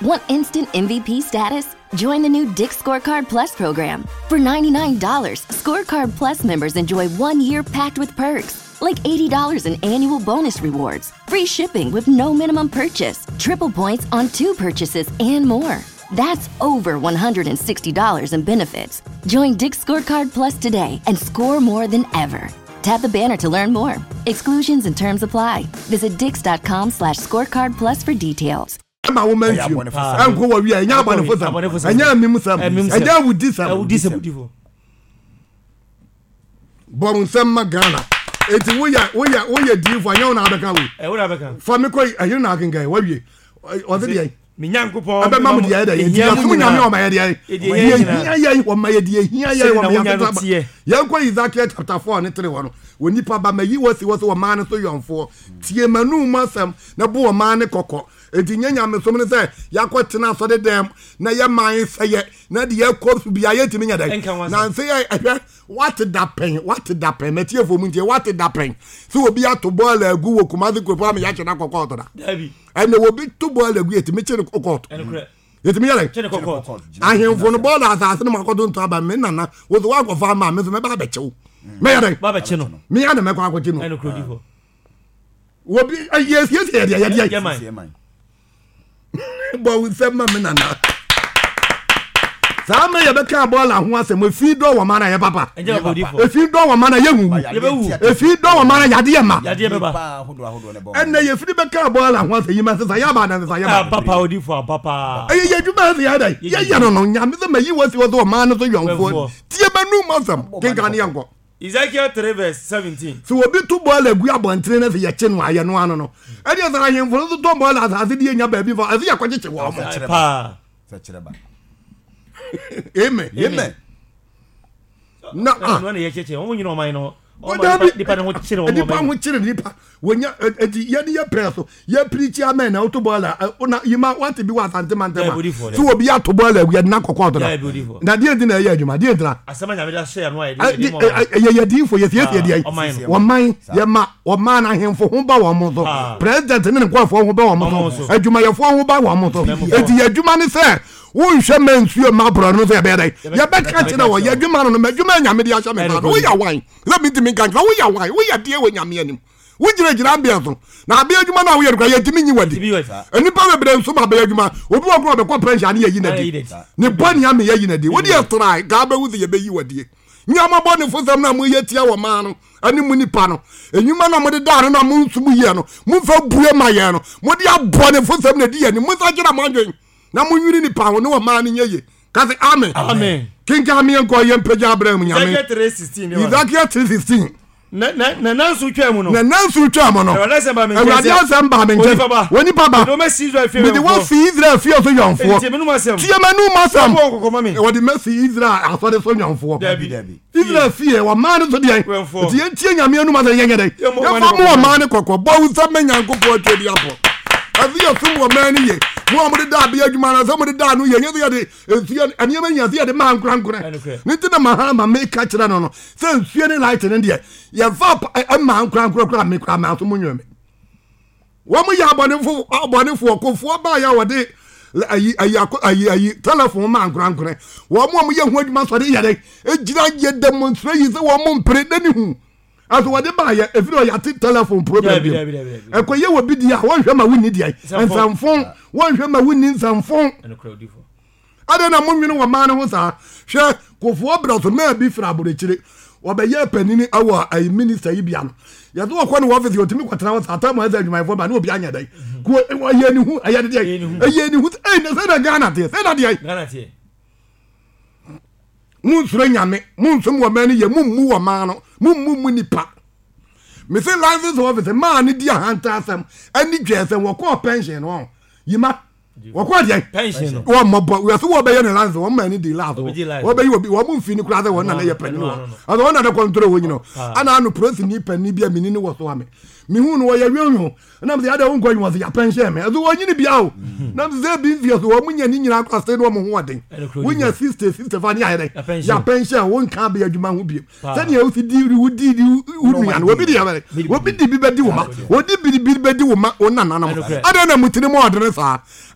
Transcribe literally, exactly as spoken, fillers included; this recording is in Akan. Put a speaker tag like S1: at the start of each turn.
S1: Want instant M V P status? Join the new Dick's Scorecard Plus program. For ninety-nine dollars, Scorecard Plus members enjoy one year packed with perks, like eighty dollars in annual bonus rewards, free shipping with no minimum purchase, triple points on two purchases, and more. That's over one hundred sixty dollars in benefits. Join Dick's Scorecard Plus today and score more than ever. Tap the banner to learn more. Exclusions and terms apply. Visit dicks dot com slash scorecard plus for details.
S2: Ma wo ma nsuo ɛnkɔ wɔ wia, ɛnyɛ abɔnefo sɛm, ɛnyɛ amim sɛm, ɛnyɛ awudi sɛm. Bɔ nsɛm ma Ghana. Eti woyɛ woyɛ woyɛ diifo, anyɛ wo na abɛka wei fa mi kɔ ɛyere na akenkan wawie ɔsi deɛ
S3: Me Nyankopɔn
S2: ɛbɛma mo deɛ ɛdɛ yɛ yɛsom Nyame, ɔma yɛ deɛ deɛ hia yɛn, ɔma yɛ deɛ hia yɛn, ɔma yɛ sesa. Yɛnkɔ Ezekiel chapter four ne three hɔ no. Wɔ nipa ba, ma yi wɔ si wɔ sɛ ɔmaa no so yɔnfoɔ, tie manu mu asɛm na bo ɔmaa ne kɔkɔ. Eti nye nyamesom no sɛ yɛakɔ tena asɔre dɛm na yɛ man sɛyɛ na deɛ ɛkɔ so bia yɛntumi nyɛ dɛ na nse yɛ ɛhwɛ. Wate da pɛn, wate da pɛn, mɛtiefo mu ntie, wate da pɛn sɛ obi ato bɔɔl agu wɔ Kumasi kuropɔn ama yɛakyɛ no akɔ kɔɔto da? Ɛnna obi to bɔɔl agu, yɛtumi kye no kɔ kɔɔto, yɛtumi yɛ dɛ ahemfo no bɔɔl asase no mu akɔto nto aba. Me nana wo so woakɔfa ama me so mɛba abɛkyew, mɛyɛ dɛ meyɛ na mɛkɔ akɔkye no. Obi yɛsiesie yɛdeɛ yɛdeɛ bɔ wo nsɛm ma me nana. Saa ma yɛbɛka bɔɔla ho asɛm, efi dɔ wɔ ma na yɛ papa, efi dɔ wɔ ma na yɛ huhu, efi dɔ wɔ ma na yadeɛ ma. Ɛnna yɛfiri bɛka bɔɔla ho asɛm yi ma sisan yɛ aba na sisan yɛ ba. Ɛyɛ yɛ adwuma ɛsɛ yɛ dɛ yɛyɛ no no Nyame sɛ ma yi wɔ si wɔ sɛ ɔman no so yɔnfoɔ, tie ma num asɛm kenkan ne yɛnkɔ.
S3: Ezekiel three verse seventeen.
S2: Sɛ obi to bɔɔla agu abɔntene no sɛ yɛkye no ayɛ no ano no, ɛdeɛ sɛ ahemfo no so tɔ bɔɔla asase de yɛnya baabi fa ɛsɛ yɛkɔkyekye wɔ mo.
S3: Paa.
S2: Amen.
S4: Amen.
S2: Na ah
S3: ɛno na yɛkyekyere wɔn nyina ɔman no.
S2: Dabi.
S3: Nipa ne ho kyerɛ wɔn.
S2: Nipa ho kyerɛ nipa wonya. Eti yɛde yɛ pɛɛ so yɛ pirikyi amɛn na woto bɔɔla na yima wate bi wɔ Asante mantam a sɛ obi ato bɔɔla agu, yɛde na kɔkɔ ɔtɔ na deɛ nti na ɛyɛ adwuma deɛ ntina
S3: asɛm a Nyame de ahyɛ yɛn no a yɛde
S2: ɛyɛ yɛ diifo, yɛsiesie deɛ wɔman yɛma wɔman no ahemfo ho ba wɔn so, president ne ne nkɔɔfoɔ ho ba wɔn so, adwumayɛfoɔ ho ba wɔn so. Eti yɛ adwuma ne sɛ wonhwɛ ma nsuo ma aborɔ no sɛ yɛbɛyɛ dɛ yɛbɛka kyerɛ wɔ yɛ adwuma no no ma adwuma Nyame de ahyɛ me nsa no. Woyɛ wan sɛ mentumi nka nkyerɛ? Woyɛ wan? Woyɛ deɛ wɔ Nyame anim? Wogyinagyina abea so na abea adwuma no a woyɛ no kora yɛntumi nyi wadi. Nnipa bebree nso ma abea adwuma. Obi wɔ kora ɔbɛkɔ pension ne yɛyi nadi ne bɔ nea me yɛyi nadi. Wode yɛ trae kaa bɛhu sɛ yɛbɛyi wadie. Nyama bɔ ne fosɛm no a moyɛ tia wɔ maa no ɛne mu nipa no enyuma no a mode daa no na mo nso mo yɛ no momfa bue ma yɛn no, mode abɔ ne fosɛm na ɛdi yɛn ni. Monsa kyerɛ mo adwen na monwiri nipa ho ne wɔ maa no nyɛ ye. Ka sɛ amen.
S3: Amen.
S2: Kenkan meɛ nkɔ yɛ mpagya abrɛ mu Nyame.
S3: Ezekiel three sixteen.
S2: Ezekiel three sixteen.
S3: Na na na nanso twaa mu no.
S2: Na nanso twaa mu no.
S3: Awurade asɛm baa me nkyɛn
S2: Awurade
S3: sɛ,
S2: asɛm baa me nkyɛn.
S3: Onipa ba.
S2: Onipa ba.
S3: Mede wo masi Israel fie
S2: Mede
S3: wɛmfoɔ.
S2: wasi Israel fie so yɔnfoɔ.
S3: Tie m'anom asɛm.
S2: Tie m'anom asɛm.
S3: Bɔ wɔn kɔkɔ ma me.
S2: Wɔde masi Israel asɔre so yɔnfoɔ.
S3: Dabi.
S4: Dabi.
S2: Israel fie wɔmaa no so deɛ.
S3: Wɛmfoɔ.
S2: Nti yɛntie Nyame anom asɛm, yɛnyɛ dɛn?
S3: Yɛmmɔ
S2: Yɛmfa
S3: ɔman
S2: mo
S3: ne kɔkɔ.
S2: ɔman ne kɔkɔ. Bɔ wo nsɛm ma Nyankopɔn atwa di apɔ. Ɛsɛ yɛsom wɔ man no ye. Mo a mode da abea adwuma no sɛ mode da no yɛ nyɛ sɛ yɛde nsuo nneɛma nyina sɛ yɛde ma ankorankorɛ.
S3: Ɛnokorɛ.
S2: Ne nti na ma ma meka kyerɛ no no sɛ nsuo ne light no deɛ yɛmfa pa- ɛ- ɛma ankorankorɛ koraa. Me koraa maaso mo nwɛ me wɔn yɛ abɔnefo abɔnefoɔ kofoɔ baa yɛ a wɔde ayi ayi akɔ ayi ayi telephone ma ankorankorɛ. Wɔn a wɔyɛ ho adwuma sɔre yɛ dɛ egyina yɛ demonstrate yi sɛ wɔn mpere n'ani hu aso wɔde baa yɛ efiri ɔyɛ ate telephone problem
S3: Dabi,
S2: bi
S3: dabi, dabi, dabi.
S2: Ɛkɔyɛ wɔ bi di a wɔnhwɛ ma wunni deɛ
S3: Nsɛmfo.
S2: nsɛmfo, wɔnhwɛ ma wunni nsɛmfo.
S3: Ɛnokorɛ, odifo.
S2: Adɛn na monwene wɔ maa no ho saa? Hwɛ, Kofoɔ brɛ so maa bi firi aborɔkyire wɔbɛyɛ panini awɔ ayi minister yi bia no, yɛsɛ wɔkɔ ne wɔfisi, ɔtumi kɔtena hɔ saa tam ɛsɛ adwumayɛfoɔ ba ne obi anyɛ dɛn ko ɔyɛ ne hu ɛyɛ deɛ ɛyɛ ne hu. Ɛyɛ ne sɛ na Ghana teɛ sɛ na deɛ
S3: Ghana teɛ.
S2: Monsuro Nyame, monsom wɔ maa no yɛ, mommu wɔ maa no, mommu mu nipa. Mese license office maa no di ahanta asɛm ɛne dwɛ sɛ wɔkɔɔ pension no ɔ yima wɔkɔɔ deɛ
S3: Pension no.
S2: Wɔn mmɔbɔ wíwá sɛ wɔbɛyɛ ne license, wɔn maa ne di last.
S3: Ɔbɛgye license.
S2: Wɔbɛyi obi wɔn mfi ne kura sɛ wɔn nana yɛ panyin
S3: Ɛno
S2: wɔ
S3: ano no.
S2: ɔsɛ wɔn nana kɔntoro wɔ nyina.
S3: Ah.
S2: Ana ano polisi panyin bi a mini ne wɔ so ame mihu no wɔyɛ wionwio nam sɛ yɛde wɔn nkɔ yi wɔn sɛ yɛapɛnhyɛn me ɛso wɔn nyini bia o nam sɛ ebi nfiɛ so wɔn nya ne nyinaa kɔ ase ne wɔn ho ɔden.
S3: Ɛno kuro.
S2: Wonya sixty sixty five ne ayɛ dɛ
S3: Yɛapɛnhyɛn.
S2: yɛapɛnhyɛn wɔn nka abɛyɛ adwuma ho biem.
S3: Paa.
S2: Sɛnea wosi di wo di di wo nua no, obi di yɛ bɛ obi di bi bɛ di wo ma, odi bi bi bɛ di wo ma wo nananom.
S3: Ɛno korɛ.
S2: Adan na mu tiri mu ɔdene saa.